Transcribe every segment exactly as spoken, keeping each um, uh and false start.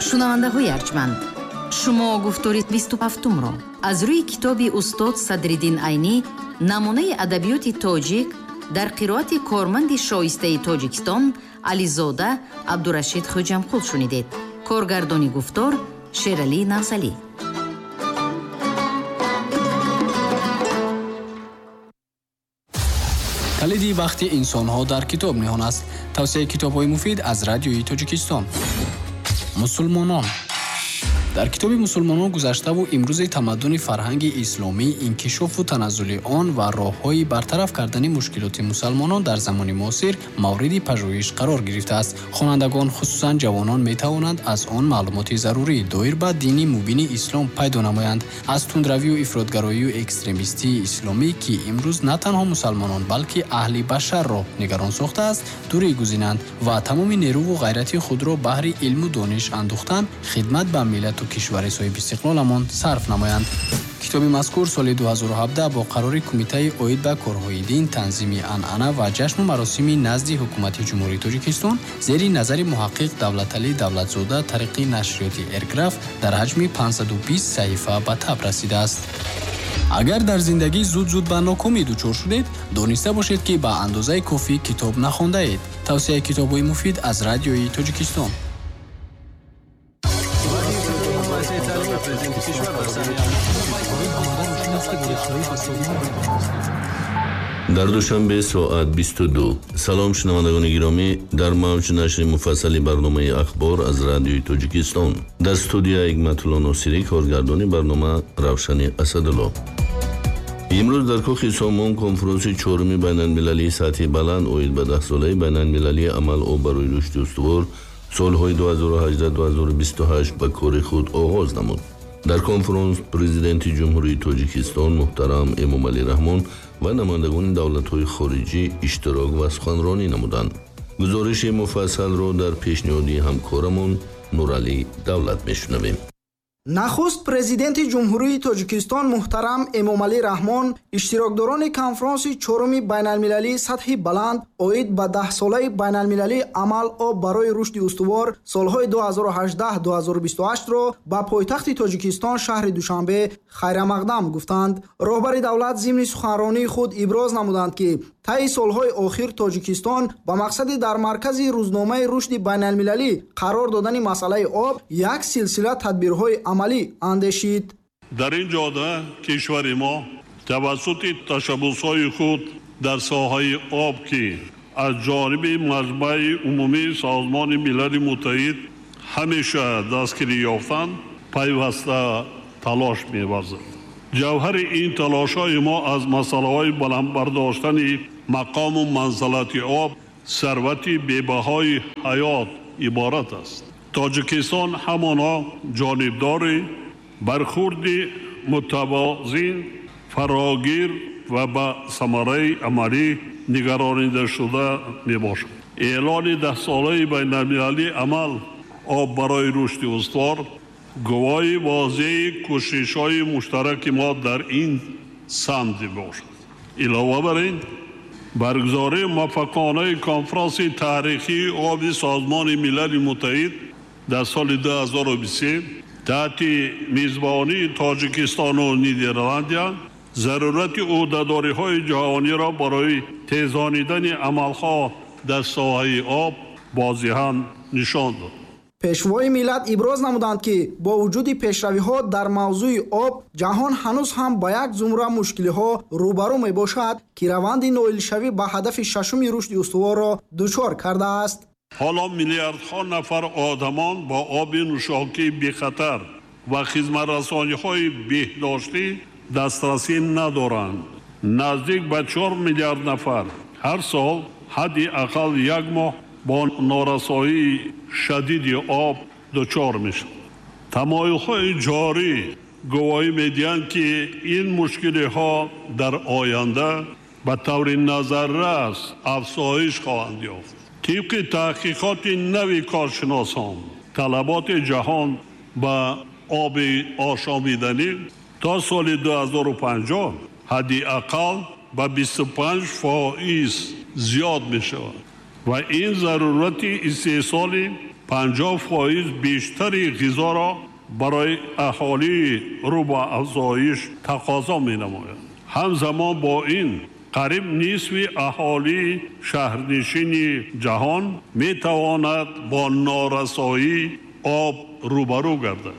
Шунавандаҳои арҷманд, шумо гуфтори бисту ҳафтумро аз рӯи китоби устод Садриддин Айнӣ намунаи адабиёти тоҷик дар қироати корманди шоистаи Тоҷикистон Ализода Абдурашид Хоҷамқул шунидед. Коргардони гуфтор Шералӣ Навзалӣ. Калиди бахти инсонҳо дар китоб ниҳон аст. Тавсияи китобҳои муфид аз радиои Тоҷикистон. Мусулмонон. Дар китоби мусулмонон гузаштаву имрӯзи тамаддуни фарҳанги исломӣ, инкишофу таназзули он ва роҳҳои бартараф кардани мушкилоти мусалмонон дар замони муосир мавриди пажӯҳиш қарор гирифтааст. Хонандагон, хусусан ҷавонон, метавонанд аз он маълумоти зарурӣ доир ба дини мубини ислом пайдо намоянд. Аз тундравию ифротгароию экстремистии исломӣ, ки имрӯз на танҳо мусалмонон, балки аҳли башарро нигарон сохтааст, дурӣ гузинанд ва тамоми нерӯву ғайрати худро баҳри илму дониш андӯхтан, хидмат ба миллату кишвари соҳибистиқлоламон сарф намоянд. Китоби мазкур соли ду ҳазору ҳабдаҳ бо қарори Кумитаи оид ба корҳои дин, танзими анъана ва ҷашну маросими назди Ҳукумати Ҷумҳурии Тоҷикистон зери назари муҳаққиқ Давлаталӣ Давлатзода тариқи нашриёти Эрграф дар ҳаҷми панҷсаду бист саҳифа ба таб расидааст. Агар дар зиндагӣ зуд-зуд ба нокомӣ дучор шудед, дониста бошед, ки ба андозаи кофӣ китоб нахондаед. Тавсияи китобҳои муфид аз радиои Тоҷикистон. Дар Душанбе соат бисту ду. Салом шунавандагони гиромӣ, дар мавҷ нашри муфассали барномаи ахбор аз радиои Тоҷикистон. Дар студия Ҳикматулло Носирӣ, коргардони барнома Равшани Асадулло. Имрӯз дар кохи Сомон конфронси чоруми байналмилалии сатҳи баланд оид ба даҳсолаи байналмилалии амал об барои рушди устувор солҳои ду ҳазору ҳаждаҳ ду ҳазору бисту ҳашт ба кори худ оғоз намуд. Дар конфронс президенти Ҷумҳурии Тоҷикистон муҳтарам Эмомалӣ Раҳмон ва намояндагони давлатҳои хориҷӣ иштирок ва суханронӣ намуданд. Гузориши муфассалро дар пешниҳоди ҳамкорамон Нуралӣ Давлат мешунавем. Нахуст президенти Ҷумҳурии Тоҷикистон муҳтарам Эмомалӣ Раҳмон иштирокдорони конфронси чоруми байналмилалии сатҳи баланд оид ба даҳсолаи байналмилалии амал об барои рушди устувор солҳои ду ҳазору ҳаждаҳ ду ҳазору бисту ҳаштро ба пойтахти Тоҷикистон шаҳри Душанбе хайрамақдам гуфтанд. Роҳбари давлат зимни суханронии худ иброз намуданд, ки таи солҳои охир Тоҷикистон ба мақсади дар маркази рӯзномаи рушди байналмилалӣ қарор додани масъалаи об як силсила тадбирҳои амалӣ андешид. Дар ин ҷода кишвари мо тавассути ташаббусҳои худ дар соҳаи об, ки аз ҷониби Маҷмаи Умумии Созмони Милали Муттаҳид ҳамеша дастгирӣ ёфтанд, пайваста талош меварзад. Ҷавҳари ин талошҳои мо аз масъалаҳои баланд бардоштани мақому манзалати об, сарвати бебаҳои ҳаёт иборат аст. Тоҷикистон ҳамоно ҷонибдори бархурди мутавозин, фарогир ва ба самараи амалӣ нигаронидашуда мебошад. Эълони даҳсолаи байналмилалии амал об барои рушди устувор гувоҳи возеҳи кӯшишҳои муштараки мо дар ин самт мебошад. Илова бар ин, баргузории муваффақонаи конфронси таърихии оби Созмони Милали Муттаҳид дар соли ду ҳазору бисту се таҳти мизбонии Тоҷикистону Нидерландия зарурати ӯҳдадориҳои ҷаҳониро барои тезонидани амалҳо дар соҳаи об возеҳан нишон дод. Пешвои миллат иброз намуданд, ки бо вуҷуди пешравиҳо дар мавзӯи об, ҷаҳон ҳанӯз ҳам ба як зумра мушкилиҳо рӯбарӯ мебошад, ки раванди ноилшавӣ ба ҳадафи шашуми рушди устуворро дучор кардааст. Ҳоло миллиардҳо нафар одамон бо оби нӯшокии бехатар ва хизматрасониҳои беҳдоштӣ дастрасӣ надоранд. Наздик ба чор миллиард нафар ҳар сол ҳадди ақал як моҳ бо норасоии шадиди об дучор мешаванд. Тамоюлҳои ҷорӣ гувоҳӣ медиҳанд, ки ин мушкилиҳо дар оянда ба таври назаррас афзоиш хоҳанд ёфт. Тибқи таҳқиқоти нави коршиносон, талаботи ҷаҳон ба оби ошомиданӣ то соли ду ҳазору панҷоҳ ҳадди ақал ба бисту панҷ фоиз зиёд мешавад ва ин зарурати истеҳсоли панҷоҳ фоиз бештари ғизоро барои аҳолии рӯ ба афзоиш тақозо менамояд. Ҳамзамон бо ин қариб нисфи аҳолии шаҳрнишини ҷаҳон метавонад бо норасоии об рӯбарӯ гардад.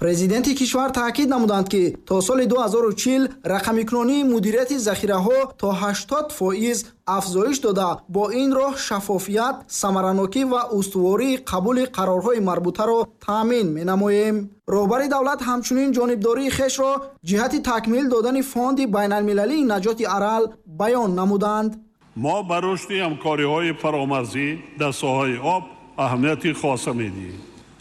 Президенти кишвар таъкид намуданд, ки то соли ду ҳазору чил рақамикунонии мудирияти захираҳо то ҳаштод фоиз афзоиш дода, бо ин роҳ шаффофият, самаранокӣ ва устувории қабули қарорҳои марбутаро таъмин менамоем. Роҳбари давлат ҳамчунин ҷонибдории хешро ҷиҳати такмил додани фонди байналмилалии наҷоти Арал баён намуданд. Мо ба рушди ҳамкориҳои фаромарзӣ дар соҳаи об аҳамияти хоса медиҳем.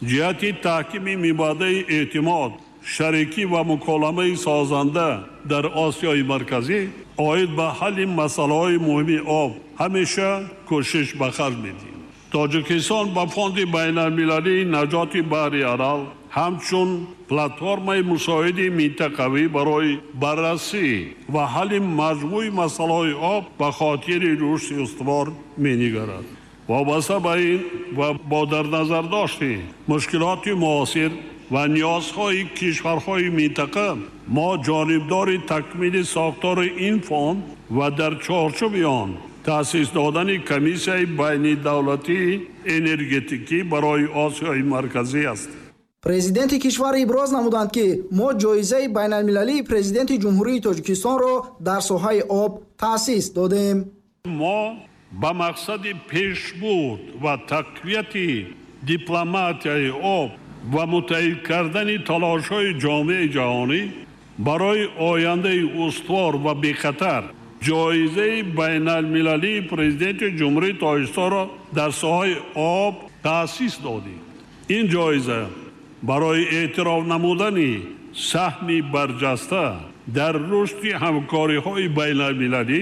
Ҷиҳати таҳкими мибадаи эътимод, шарикӣ ва муколамаи созанда дар Осиёи Марказӣ оид ба ҳалли масъалаҳои муҳими об ҳамеша кӯшиш ба харҷ медиҳем. Тоҷикистон ба фонди байналмилалии наҷоти баҳри Арал ҳамчун платформаи мусоиди минтақавӣ барои баррасӣ ва ҳалли маҷмӯи масъалаҳои об ба хотири рушди устувор менигарад. Вобаста ба ин ва бо дар назардошти мушкилоти муосир ва ниёзҳои кишварҳои минтақа мо ҷонибдори такмили сохтори ин фонд ва дар чорчӯби он таъсис додани комиссияи байнидавлатии энергетикӣ барои Осиёи Марказӣ ҳастем. Президенти кишвар иброз намуданд, ки мо ҷоизаи байналмилалии президенти Ҷумҳурии Тоҷикистонро дар соҳаи об таъсис додем. Мо ба мақсади пешбурд ва тақвияти дипломатияи об ва муттаҳид кардани талошҳои ҷомеаи ҷаҳонӣ барои ояндаи устувор ва бехатар ҷоизаи байналмилалии президенти Ҷумҳурии Тоҷикистонро дар соҳаи об таъсис додем. Ин ҷоиза барои эътироф намудани саҳми барҷаста дар рушди ҳамкориҳои байналмилалӣ,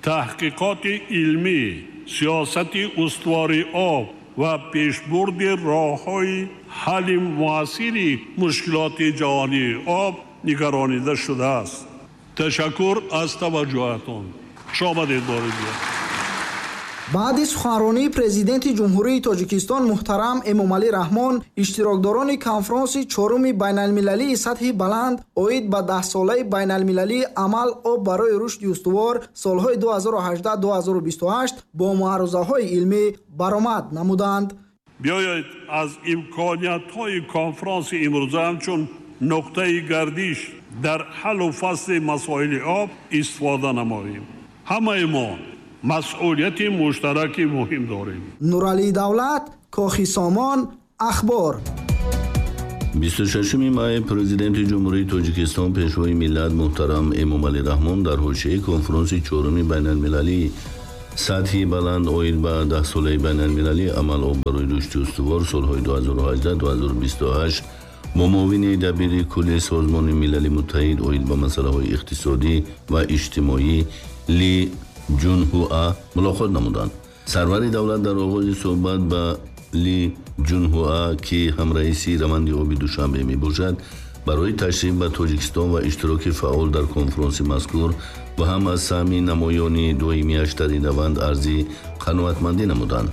таҳқиқоти илмӣ, сиёсати устувори об ва пешбурди роҳҳои ҳалли муассири мушкилоти ҷаҳонии об нигаронида шудааст. Ташаккур аз таваҷҷӯҳатон. Хуш омадед бори дигар. Баъди суханронии президенти Ҷумҳурии Тоҷикистон муҳтарам Эмомалӣ Раҳмон, иштирокдорони конфронси чоруми байналмилалии сатҳи баланд оид ба даҳсолаи байналмилалии амал об барои рушди устувор солҳои ду ҳазору ҳаждаҳ ду ҳазору бисту ҳашт бо маърузаҳои илмӣ баромад намуданд. Биёед аз имкониятҳои конфронси имрӯза ҳамчун нуқтаи гардиш дар ҳаллу фасли масоили об истифода намоем. Ҳамаи мо масъулияти муштараки муҳим дорем. Нуралӣ Давлат, Кохи Сомон, Ахбор. бисту шашуми май президенти Ҷумҳурии Тоҷикистон пешвои миллат муҳтарам Эмомалӣ Раҳмон дар ҳошияи конфронси чоруми байналмилалии сатҳи баланд оид ба даҳсолаи байналмилалии амал об барои рушди устувор солҳои ду ҳазору ҳаждаҳ ду ҳазору бисту ҳашт бо муовини дабири кулли Созмони Милали Муттаҳид оид ба масъалаҳои иқтисодӣ ва иҷтимоӣ Ли Ҷунҳуа мулоқот намуданд. Сарвари давлат дар оғози суҳбат ба Ли Ҷунҳуа, ки ҳамраиси раванди оби Душанбе мебошад, барои ташриф ба Тоҷикистон ва иштироки фаъол дар конфронси мазкур ва ҳам аз саҳми намоёни доимиаш дар ин раванд арзи қаноатмандӣ намуданд.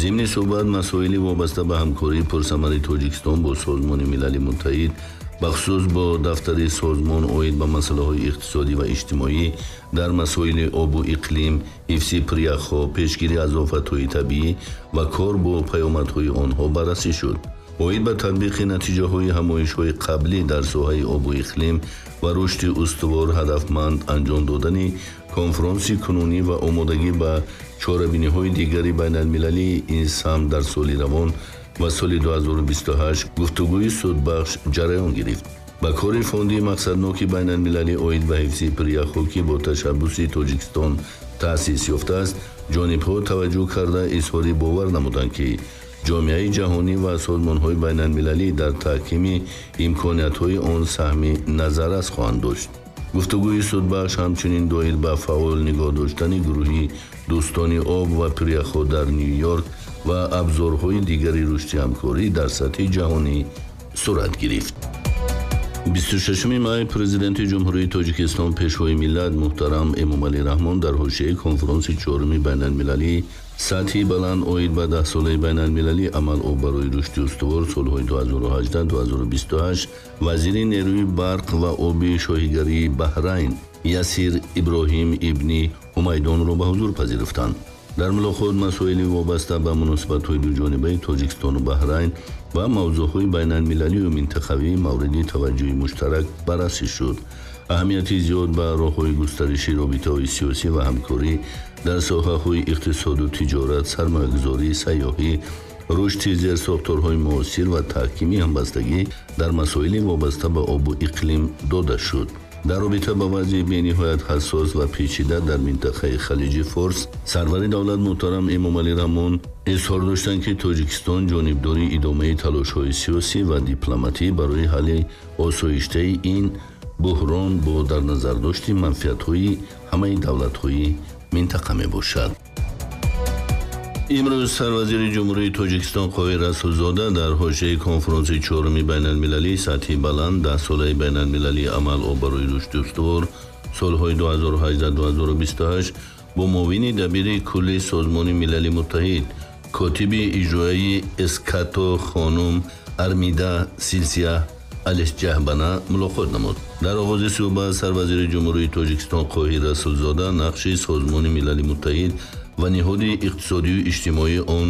Зимни суҳбат масоили вобаста ба ҳамкории пурсамари Тоҷикистон бо Созмони Милали Муттаҳид, бахусус бо дафтари созмон оид ба масъалаҳои иқтисодӣ ва иҷтимоӣ дар масоили обу иқлим, ҳифзи пиряхҳо, пешгирӣ аз офатҳои табиӣ ва кор бо паёмадҳои онҳо баррасӣ шуд. Оид ба татбиқи натиҷаҳои ҳамоишҳои қаблӣ дар соҳаи обу иқлим ва рушди устувор ҳадафманд анҷом додани конфронси кунунӣ ва омодагӣ ба чорабиниҳои дигари байналмилалии ин самт дар соли равон ва соли ду ҳазору бисту ҳашт гуфтугӯи судбахш ҷараён гирифт. Ба кори фонди мақсадноки байналмилалӣ оид ба ҳифзи пиряхҳо, ки бо ташаббуси Тоҷикистон таъсис ёфтааст, ҷонибҳо таваҷҷӯҳ карда изҳори бовар намуданд, ки ҷомеаи ҷаҳонӣ ва созмонҳои байналмилалӣ дар таҳкими имкониятҳои он саҳми назаррас хоҳанд дошт. Гуфтугӯи судбахш ҳамчунин доир ба фаъол нигоҳ доштани гурӯҳи дӯстони об ва пиряхҳо дар Ню-Йорк ва абзорҳои дигари рушди ҳамкорӣ дар сатҳи ҷаҳонӣ сурат гирифт. бисту шашуми май президенти Ҷумҳурии Тоҷикистон пешвои миллат муҳтарам Эмомалӣ Раҳмон дар ҳошияи конфронси чоруми байналмилалии Сатҳи баланд оид ба даҳсолаи байналмилалии амал об барои рушди устувор солҳои ду ҳазору ҳаждаҳ - ду ҳазору бисту ҳашт вазири нерӯи барқ ва оби шоҳигарии Баҳрайн Ясир Иброҳим ибни Ҳумайдонро ба ҳузур пазируфтанд. Дар мулоқот масоили вобаста ба муносибатҳои дуҷонибаи Тоҷикистону Баҳрайн ва мавзӯъҳои байналмилалию минтақавӣ мавриди таваҷҷӯҳи муштарак баррасӣ шуд. Аҳамияти зиёд ба роҳҳои густариши робитаҳои сиёсӣ ва ҳамкорӣ дар соҳаҳои иқтисоду тиҷорат, сармоягузорӣ, сайёҳӣ, рушди зерсохторҳои муосир ва таҳкими ҳамбастагӣ дар масоили вобаста ба обу иқлим дода шуд. Дар робита ба вазъи бениҳоят ҳассос ва печида дар минтақаи Халиҷи Форс, сарвари давлат муҳтарам Эмомалӣ Раҳмон изҳор доштанд, ки Тоҷикистон ҷонибдори идомаи талошҳои сиёсӣ ва дипломатӣ барои ҳалли осоиштаи ин буҳрон бо дар назардошти манфиатҳои ҳамаи давлатҳои минтақа мебошад. Имрӯз сарвазири Ҷумҳурии Тоҷикистон Қоҳир Расулзода дар ҳошияи конфронси чоруми байналмилалии сатҳи баланд даҳсолаи байналмилалии амал об барои рушди устувор солҳои ду ҳазору ҳаждаҳ - ду ҳазору бисту ҳашт бо муовини дабири кулли Созмони Милали Муттаҳид, котиби иҷроияи Эскато хонум Армида Силсия Алисҷаҳбана мулоқот намуд. Дар оғози суҳбат сарвазири Ҷумҳурии Тоҷикистон Қоҳир Расулзода нақши Созмони Милали Муттаҳид ва ниҳоди иқтисодию иҷтимоии он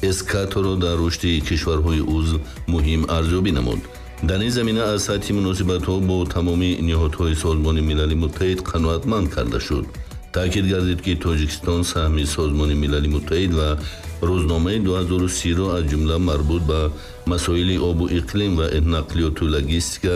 Эскаторо дар рушди кишварҳои узв муҳим арзёбӣ намуд. Дар ин замина аз сатҳи муносибатҳо бо тамоми ниҳодҳои Созмони Милали Муттаҳид қаноатманд карда шуд. Таъкид гардид, ки Тоҷикистон саҳми Созмони Милали Муттаҳид ва рӯзномаи ду ҳазору сиро аз ҷумла марбут ба масоили обу иқлим ва нақлиёту логистика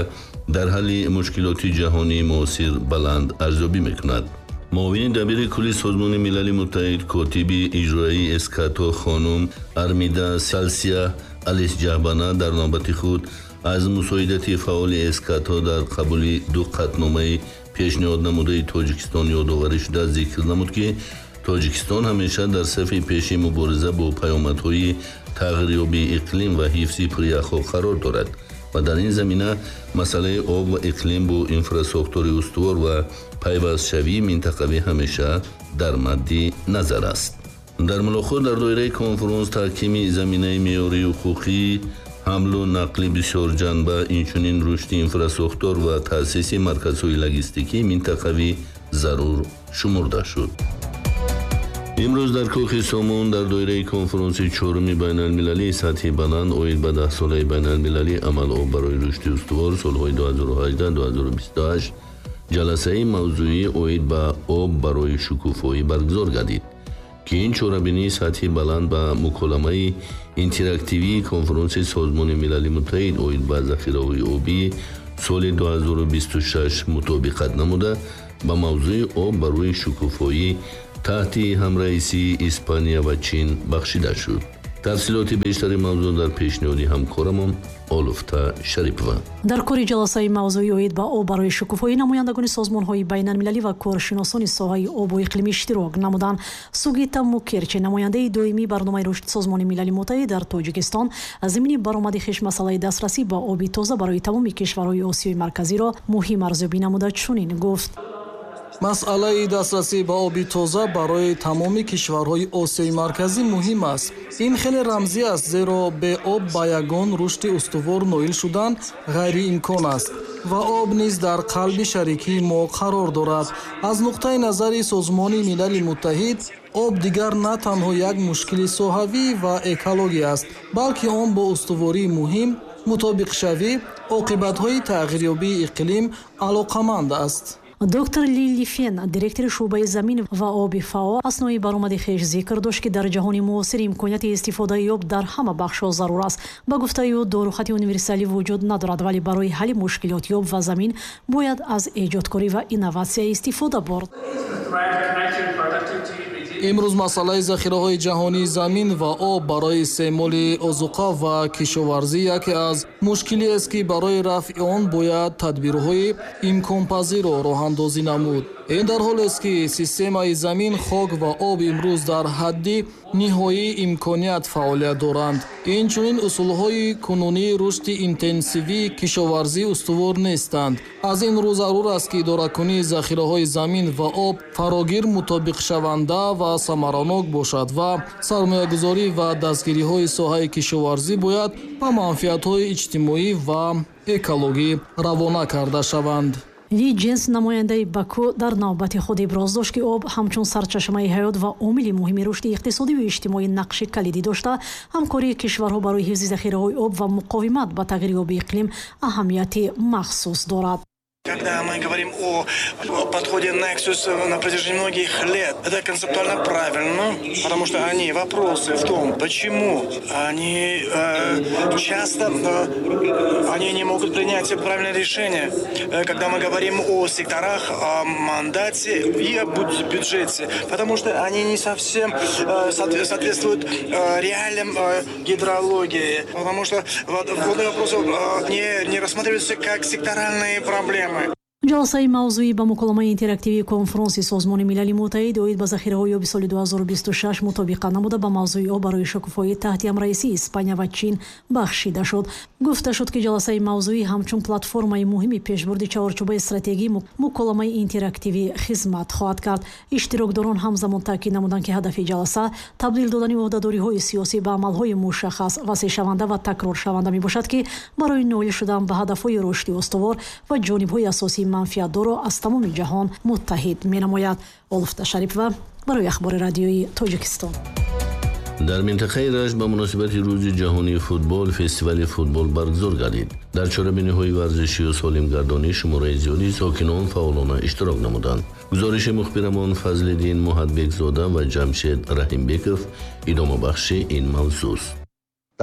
дар ҳалли мушкилоти ҷаҳонии муосир баланд арзёбӣ мекунад. Муовини дабири кулли Созмони Милали Муттаҳид, котиби иҷроияи Эскато хонум Армида Салсия Алисҷаҳбана дар навбати худ аз мусоидати фаъоли Эскато дар қабули ду қатъномаи пешниҳод намудаи Тоҷикистон ёдоварӣ шуда зикр намуд, ки Тоҷикистон ҳамеша дар сафи пеши мубориза бо паёмадҳои тағйирёбии иқлим ва ҳифзи пиряхҳо қарор дорад ва дар ин замина масъалаи об ва иқлим бо инфрасохтори устувор ва пайвастшавии минтақавӣ ҳамеша дар мадди назар аст. Дар мулоқот дар доираи конфронс таҳкими заминаи меъёрии ҳуқуқӣ, ҳамлу нақли бисёрҷанба, инчунин рушди инфрасохтор ва таъсиси марказҳои логистикии минтақавӣ зарур шумурда шуд. Имрӯз дар Кӯхи Сомон дар доираи конфронси чоруми байналмилалии сатҳи баланд оид ба даҳсолаи байналмилалии амал об барои рушди устувор солҳои ду ҳазору ҳаждаҳ - ду ҳазору бисту ҳашт ҷаласаи мавзӯӣ оид ба об барои шукуфоӣ баргузор гардид, ки ин чорабинии сатҳи баланд ба муколамаи интерактивии конфронси Созмони Милали Муттаҳид оид ба захираҳои обии соли ду ҳазору бисту шаш мутобиқат намуда ба мавзӯи об барои шукуфоӣ таҳти ҳамраисии Испания ва Чин бахшида шуд. Тафсилоти бештари мавзӯъ дар пешниҳоди ҳамкорамон Олуфта Шарипова. Дар кори ҷаласаи мавзӯи оид ба об барои шукуфоӣ намояндагони созмонҳои байналмилалӣ ва коршиносони соҳаи обу иқлим иштирок намуданд. Сугита Мукерчи, намояндаи доимии барномаи рушди Созмони Милали Муттаҳид дар Тоҷикистон, зимни баромади хеш масъалаи дастрасӣ ба оби тоза барои тамоми кишварҳои Осиёи Марказиро муҳим арзёбӣ намуда чунин гуфт: Масъалаи дастрасӣ ба оби тоза барои тамоми кишварҳои Осиёи Марказӣ муҳим аст. Ин хеле рамзӣ аст, зеро бе об ба ягон рушди устувор ноил шудан ғайриимкон аст ва об низ дар қалби шарикии мо қарор дорад. Аз нуқтаи назари Созмони Милали Муттаҳид, об дигар на танҳо як мушкили соҳавӣ ва экологӣ аст, балки он бо устувории муҳим, мутобиқшавӣ, оқибатҳои тағйирёбии иқлим алоқаманд аст. Доктор Лили Фен, директори шӯъбаи замин ва оби ФАО, аснои баромади хеш зикр дошт, ки дар ҷаҳони муосир имконияти истифодаи об дар ҳама бахшҳо зарур аст. Ба гуфтаи ӯ, дорухати универсалӣ вуҷуд надорад, вале барои ҳалли мушкилоти об ва замин бояд аз эҷодкорӣ ва инноватсия истифода бурд. Имрӯз масъалаи захираҳои ҷаҳонии замин ва об барои истеъмоли озуқа ва кишоварзӣ яке аз мушкилиест, ки барои рафъи он бояд тадбирҳои имконпазирро роҳандозӣ намуд. Ин дар ҳолест, ки системаи замин, хок ва об имрӯз дар ҳадди ниҳоии имконият фаъолият доранд. Инчунин усулҳои кунунии рушди интенсивии кишоварзӣ устувор нестанд. Аз ин рӯ зарур аст, ки идоракунии захираҳои замин ва об фарогир, мутобиқшаванда ва самаранок бошад ва сармоягузорӣ ва дастгириҳои соҳаи кишоварзӣ бояд ба манфиатҳои иҷтимоӣ ва экологӣ равона карда шаванд. Ли Ҷенс, намояндаи Баку, дар навбати худ иброз дошт, ки об ҳамчун сарчашмаи ҳаёт ва омили муҳими рушди иқтисодиву иҷтимоӣ нақши калидӣ дошта, ҳамкории кишварҳо барои ҳифзи захираҳои об ва муқовимат ба тағйирёбии иқлим аҳамияти махсус дорад. Когда мы говорим о подходе Nexus на протяжении многих лет, это концептуально правильно, потому что они вопросы в том, почему они э, часто э, они не могут принять правильное решение, когда мы говорим о секторах, о мандате и о бюджете, потому что они не совсем э, соответствуют э, реалиям э, гидрологии, потому что водные вопросы э, не, не рассматриваются как секторальные проблемы. Ҷаласаи мавзӯӣ ба муколамаи интерактивии конфронси Созмони Милали Муттаҳид оид ба захираҳои оби соли ду ҳазору бисту шаш мутобиқа намуда, ба мавзӯи об барои шукуфоӣ таҳти ҳамраисии Испания ва Чин бахшида шуд. Гуфта шуд, ки ҷаласаи мавзӯӣ ҳамчун платформаи муҳими пешбурди чаҳорчӯбаи стратегии муколамаи интерактивӣ хизмат хоҳад кард. Иштирокдорон ҳамзамон таъкид намуданд, ки ҳадафи ҷаласа табдил додани ӯҳдадориҳои сиёсӣ ба амалҳои мушаххас, васеъшаванда ва такроршаванда мебошад, ки барои ноил шудан ба ҳадафҳои рушди устувор ва ҷонибҳои асосии манфиатдорро аз тамоми ҷаҳон муттаҳид менамояд. Олуфта Шарипова барои Ахбори Радиои Тоҷикистон. Дар минтақаи Рашт ба муносибати Рӯзи ҷаҳонии футбол фестивали футбол баргузор гардид. Дар чорабиниҳои варзишию солимгардонӣ шумораи зиёди сокинон фаъолона иштирок намуданд. Гузориши мухбирамон Фазлиддин Муҳатбекзода ва Ҷамшед Раҳимбеков идомабахши ин мавзӯст.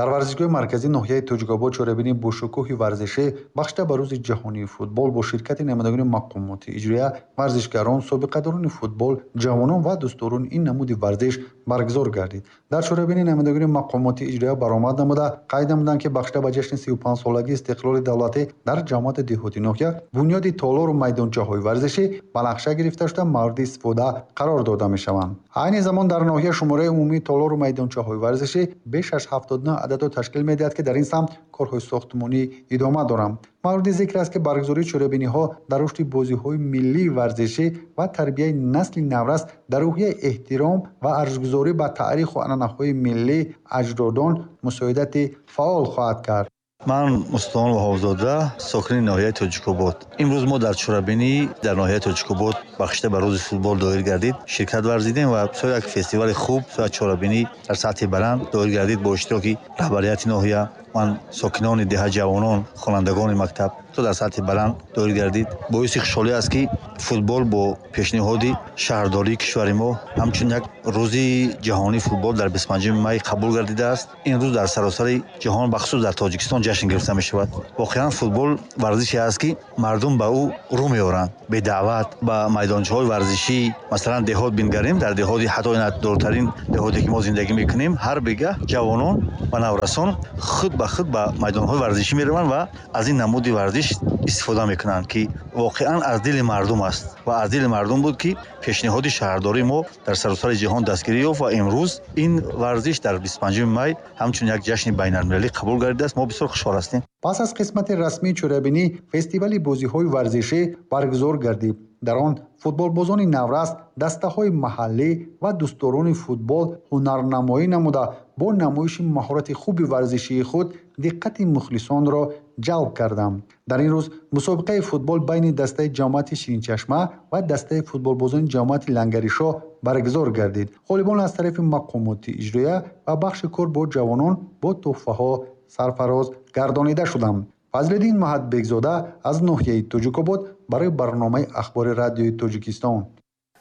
Дар варзишгоҳи марказии ноҳияи Тоҷикобод чорабинии бошукӯҳи варзишӣ бахшида ба Рӯзи ҷаҳонии футбол бо ширкати намояндагони мақомоти иҷроия, варзишгарон, собиқадорони футбол, ҷавонон ва дӯстдорони ин намуди варзиш баргузор гардид. Дар чорабинӣ намояндагони мақомоти иҷроия баромад намуда, қайд намуданд, ки бахшида ба ҷашни сию панҷсолагии истиқлоли давлатӣ дар ҷамоати деҳоти ноҳия бунёди толору майдончаҳои варзишӣ ба нақша гирифта шуда, мавриди истифода қарор дода мешаванд. Айни замон дар ноҳия шумораи умумии толору майдончаҳои варзишӣ беш аз ҳафтоду нӯҳ ададро ташкил медиҳад, ки дар ин самт корҳои сохтмонӣ идома доранд. Мавриди зикр аст, ки баргузории чорабиниҳо дар рушди бозиҳои миллии варзишӣ ва тарбияи насли наврас дар рӯҳияи эҳтиром ва арҷгузорӣ ба таъриху анъанаҳои миллии аҷдодон мусоидати фаъол хоҳад кард. Ман Мустафо Ваҳобзода, сокини ноҳияи Тоҷикобод. Имрӯз мо дар чорабинӣ дар ноҳияи Тоҷикобод, бахшида ба Рӯзи футбол доир гардид, ширкат варзидем ва бисёр як фестивали хуб, бисёр чорабинӣ дар сатҳи баланд доир гардид бо иштироки раҳбарияти ноҳия, ман, сокинони деҳа, ҷавонон, хонандагони мактаб, то дар сатҳи баланд доир гардид. Боиси хушҳолӣ аст, ки футбол бо пешниҳоди шаҳрдории кишвари мо ҳамчун як Рӯзи ҷаҳонии футбол дар бисту панҷуми май қабул гардидааст. Ин рӯз дар саросари ҷаҳон, бахусус дар Тоҷикистон, ҷашн гирифта мешавад. Воқеан, футбол варзише аст, ки мардум ба ӯ рӯ меоранд бедаъват ба майдончаҳои варзишӣ. Масалан, деҳот бингарем, дар деҳоти, ҳатто дуртарин деҳоте, ки мо зиндагӣ мекунем, ҳар бегаҳ ҷавонон ва наврасон худ ба худ ба майдонҳои варзишӣ мераванд ва аз ин намуди варзиш истифода мекунанд, ки воқеан аз дили мардум аст. Ва аз дили мардум буд, ки пешниҳоди шаҳрдории мо дар саросари ҷаҳон дастгирӣ ёфт ва имрӯз ин варзиш дар бисту панҷуми май ҳамчун як ҷашни байналмилалӣ қабул гардидааст. Мо бисёр хушҳол ҳастем. Пас аз қисмати расмии чорабинӣ фестивали бозиҳои варзишӣ баргузор гардид. Дар он футболбозони наврас, дастаҳои маҳаллӣ ва дӯстдорони футбол ҳунарнамоӣ намуда, бо намоиши маҳорати хуби варзишии худ диққати мухлисонро ҷалб карданд. Дар ин рӯз мусобиқаи футбол байни дастаи ҷамоати Ширинчашма ва дастаи футболбозони ҷамоати Лангаришоҳ баргузор гардид. Ғолибон аз тарафи мақомоти иҷроия ва бахши кор бо ҷавонон бо тӯҳфаҳо сарфароз гардонида шуданд. Фазлиддин Маҳатбекзода аз ноҳияи Тоҷикобод барои барномаи Ахбори Радиои Тоҷикистон.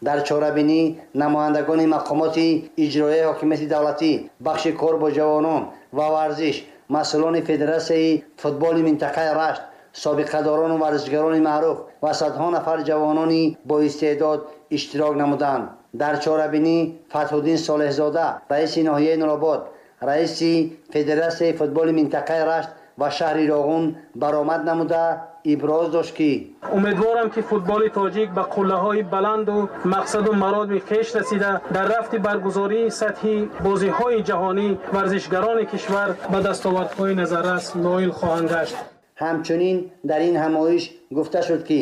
Дар чорабинӣ намояндагони мақомоти иҷроияи ҳокимияти давлатӣ, бахши кор бо ҷавонон ва варзиш, масъулони Федератсияи футболи минтақаи Рашт, собиқадорону варзишгарони маъруф ва садҳо нафар ҷавонони боистеъдод иштирок намуданд. Дар чорабинӣ Фатҳуддин Солеҳзода, раиси ноҳияи Нуробод, раиси Федератсияи футболи минтақаи Рашт ва шаҳри Роғун баромад намуда. иброз дошт, ки умедворам, ки футболи тоҷик ба қуллаҳои баланду мақсаду мароми хеш расида, дар рафти баргузории сатҳи бозиҳои ҷаҳонӣ варзишгарони кишвар ба дастовардҳои назаррас ноил хоҳанд гашт. Ҳамчунин дар ин ҳамоиш гуфта шуд, ки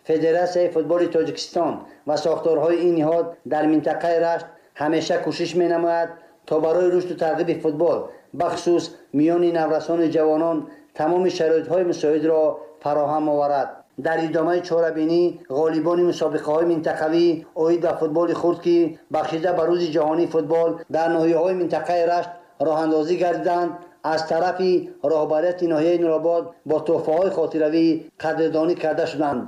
Федератсияи футболи Тоҷикистон ва сохторҳои ин ниҳод дар минтақаи Рашт ҳамеша кӯшиш менамояд, то барои рушду тарғиби футбол, бахусус миёни наврасону ҷавонон, тамоми шароитҳои мусоидро фароҳам оварад. Дар идомаи чорабинӣ ғолибони мусобиқаҳои минтақавӣ оид ба футболи хурд, ки бахшида ба Рӯзи ҷаҳонии футбол дар ноҳияҳои минтақаи Рашт роҳандозӣ гардиданд, аз тарафи роҳбарияти ноҳияи Нуробод бо тӯҳфаҳои хотиравӣ қадрдонӣ карда шуданд.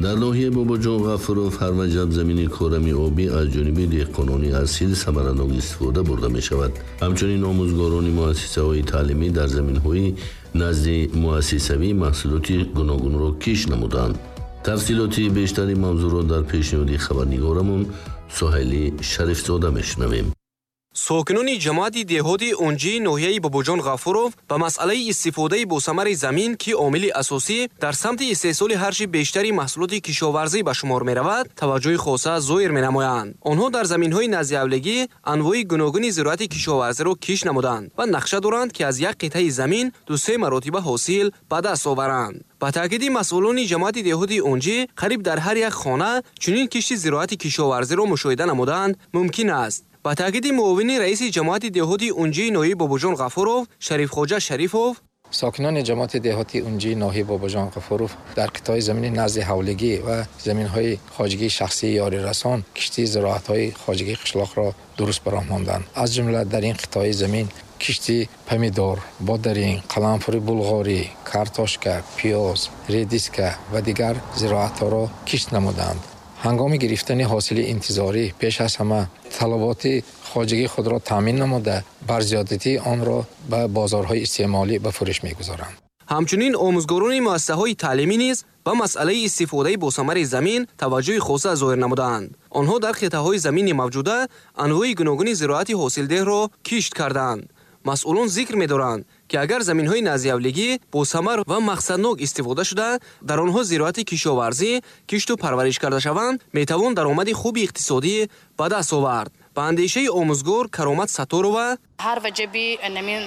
Дар ноҳияи Бобоҷон Ғафуров ҳар ваҷаб замини корами обӣ аз ҷониби деҳқонони асил самаранок истифода бурда мешавад. Ҳамчунин омӯзгорони муассисаҳои таълимӣ дар заминҳои назди муассисавӣ маҳсулоти гуногунро киш намуданд. Тафсилоти бештари мавзӯъро дар пешниҳоди хабарнигорамон Соҳили Шарифзода мешунавем. Сокинони ҷамоати деҳоти Унҷии ноҳияи Бобоҷон Ғафуров ба масъалаи истифодаи босамари замин, ки омили асосӣ дар самти истеҳсоли ҳарчи бештари маҳсулоти кишоварзӣ ба шумор меравад, таваҷҷӯҳи хоса зоҳир менамоянд. Онҳо дар заминҳои наздиҳавлигӣ анвои гуногуни зироати кишоварзиро киш намуданд ва нақша доранд, ки аз як қитъаи замин ду-се маротиба ҳосил ба даст оваранд. Ба таъкиди масъулони ҷамоати деҳоти Унҷӣ, қариб дар ҳар як хона чунин кишти зироати кишоварзиро мушоҳида намуданд мумкин аст. Ба таъкиди муовини раиси ҷамоати деҳоти Унҷии ноҳияи Бобоҷон Ғафуров Шарифхоҷа Шарифов, сокинони ҷамоати деҳоти Унҷии ноҳияи Бобоҷон Ғафуров дар қитъаи замини назди ҳавлигӣ ва заминҳои хоҷагии шахсии ёрирасон кишти зироатҳои хоҷагии қишлоқро дуруст ба роҳ монданд. Аз ҷумла дар ин қитъаи замин кишти помидор, бодаринг, қаламфури булғорӣ, картошка, пиёз, редиска ва дигар зироатҳоро кишт намуданд. Ҳангоми гирифтани ҳосили интизорӣ пеш аз ҳама талаботи хоҷагии худро таъмин намуда, бар зиёдатии онро ба бозорҳои истеъмолӣ ба фурӯш мегузоранд. Ҳамчунин омӯзгорони муассисаҳои таълимӣ низ ба масъалаи истифодаи босамари замин таваҷҷӯҳи хоса зоҳир намуданд. Онҳо дар қитъаҳои замини мавҷуда анвои гуногуни зироати ҳосилдеҳро кишт карданд. Масъулон зикр медоранд, ки агар заминҳои наздиҳавлигӣ босамар ва мақсаднок истифода шуда, дар онҳо зироати кишоварзӣ кишту парвариш карда шаванд, метавон даромади хуби иқтисодӣ ба даст овард. Ба андешаи омӯзгор Каромат Сатторова, ҳар ваҷаби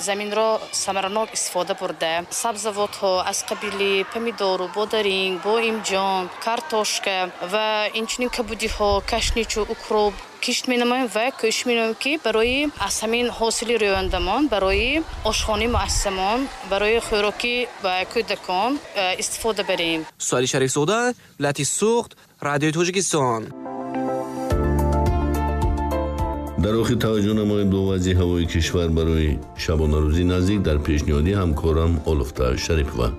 заминро самаранок истифода бурда, сабзавотҳо аз қабили помидору, бодаринг, боимҷон, картошка ва инчунин кабудиҳо, кашничу, укроп кишт менамоем ва кӯшиш менамоем, ки барои аз ҳамин ҳосили рӯёндамон барои ошхонаи муассисамон, барои хӯроки ба кӯдакон истифода барем. Суали Шарифзода, вилояти Суғд, Радиои Тоҷикистон. Дар охир таваҷҷӯҳ намоем ба вазъи ҳавои кишвар барои шабонарӯзи наздик дар пешниҳоди ҳамкорам Олуфта Шарипова.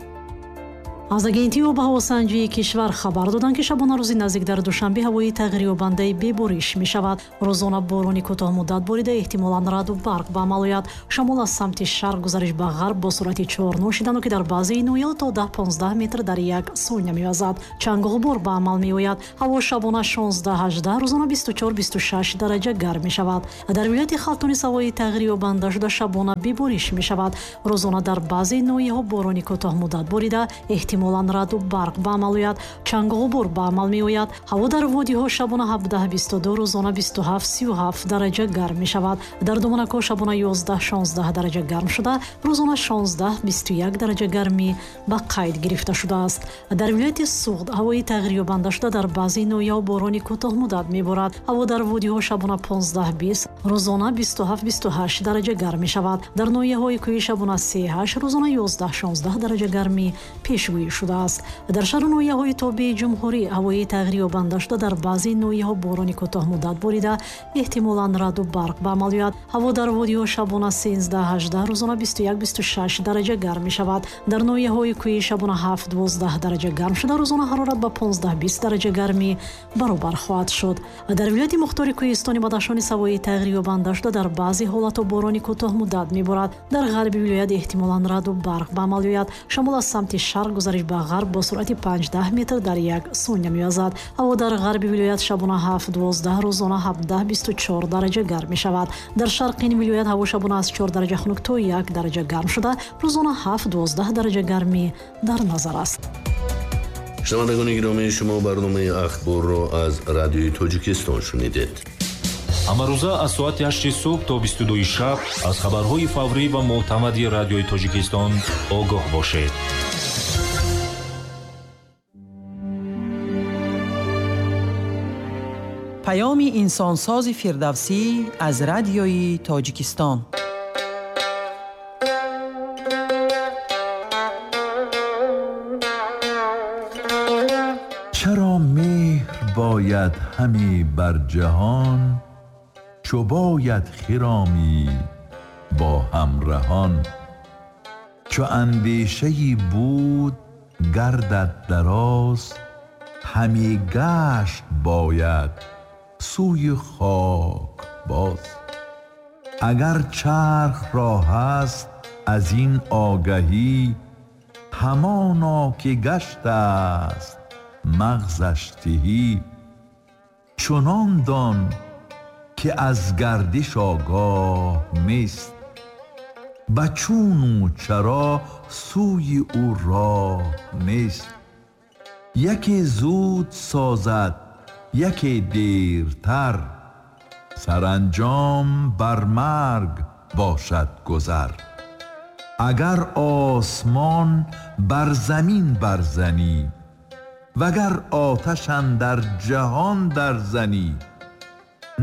Аз агентии обҳавосанҷии кишвар хабар доданд, ки шабонарӯзи наздик дар Душанбе ҳавои тағйирёбандаи бебориш мешавад. Рӯзона борони кӯтоҳмуддат борида, эҳтимолан раъду барқ ба амал ояд. Шамол аз самти шарқ гузариш ба ғарб бо суръати чор ношидану, ки дар баъзеи ноҳияҳо то даҳ понздаҳ метр дар як сония мевазад. Чангу ғубор ба амал меояд. Ҳаво шабона шонздаҳ ҳаждаҳ, рӯзона бисту чор бисту шаш дараҷа гарм мешавад. Дар вилояти Хатлон ҳавои тағйирёбанда шуда шабона бебориш мешавад. Рӯзона дар баъзеи ноҳияҳо борони кӯтоҳмуддат борида, эҳтимолан раъду барқ ба амал ояд. Чангу ғубор ба амал меояд. Ҳаво дар водиҳо шабона ҳабдаҳ бисту ду, рӯзона бисту ҳафт сию ҳафт дараҷа гарм мешавад. Дар доманакҳо шабона ёздаҳ шонздаҳ дараҷа гарм шуда, рӯзона шонздаҳ бисту як дараҷа гармӣ ба қайд гирифта шудааст. Дар вилояти Суғд ҳавои тағйирёбанда шуда, дар баъзе ноҳияҳо борони кӯтоҳмуддат меборад. Ҳаво дар водиҳо шабона понздаҳ бист, рӯзона бисту ҳафт бисту ҳашт дараҷа гарм мешавад. Дар ноҳияҳои кӯҳӣ шабона се ҳашт, рӯзона ёздаҳ шонздаҳ дараҷа гармӣ пешгӯӣ шудааст. Дар шаҳру ноҳияҳои тобеи ҷумҳурӣ ҳавои тағйирёбанда шуда, дар баъзе ноҳияҳо борони кӯтоҳмуддат борида, эҳтимолан раъду барқ ба амал ояд. Ҳаво дар водиҳо шабона сенздаҳ ҳаждаҳ, рӯзона бисту як бисту шаш дараҷа гарм мешавад. Дар ноҳияҳои кӯҳӣ шабона ҳафт дувоздаҳ дараҷа гарм шуда, рӯзона ҳарорат ба понздаҳ бист дараҷа гармӣ баробар хоҳад шуд. Дар вилояти мухтори кӯҳистони Бадахшон ҳавои тағйирёбанда шуда, дар баъзе ҳолатҳо борони кӯтоҳмуддат меборад. Дар ғарби вилоят эҳтимолан раъду барқ ба амал ояд. Шамол аз самти шарқ гузариш Гузариш ба ғарб бо суръати панҷ даҳ метр дар як сония мевазад. Ҳаво дар ғарби вилоят шабона ҳафт дувоздаҳ, рӯзона ҳабдаҳ бисту чор дараҷа гарм мешавад. Дар шарқи ин вилоят ҳаво шабона аз чор дараҷа хунук то як дараҷа гарм шуда, рӯзона ҳафт дувоздаҳ дараҷа гармӣ дар назар аст. Шунавандагони гиромӣ, шумо барномаи ахборро аз Радиои Тоҷикистон шунидед. Ҳамарӯза аз соати ҳашти субҳ то бисту дуи шаб аз хабарҳои фаврӣ ва мӯътамади Радиои Тоҷикистон огоҳ бошед. Паёми инсонсози Фирдавсӣ аз Радиои Тоҷикистон. Чаро меҳр бояд ҳаме бар ҷаҳон, чу бояд хиромӣ бо ҳамраҳон. Чу андешаи буд гардад дароз, ҳаме гашт бояд сӯи хок боз. Агар чарх ро ҳаст аз ин огаҳӣ, ҳамоно ки гашт аст мағзаш тиҳӣ. Чунон дон ки аз гардиш огоҳ нест, ба чуну чаро сӯи ӯ роҳ нест. Яке зуд созад, яке дертар, саранҷом бар марг бошад гузар. Агар осмон бар замин барзанӣ, вагар оташ андар ҷаҳон дарзанӣ,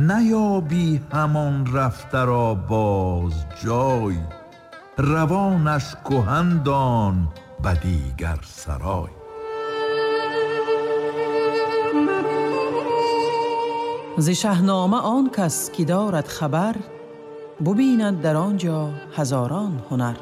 наёбӣ ҳамон рафтаро боз ҷой, равонаш куҳан дон ба дигар сарой. Зи шаҳнома он кас ки дорад хабар, бубинад дар он ҷо ҳазорон ҳунар.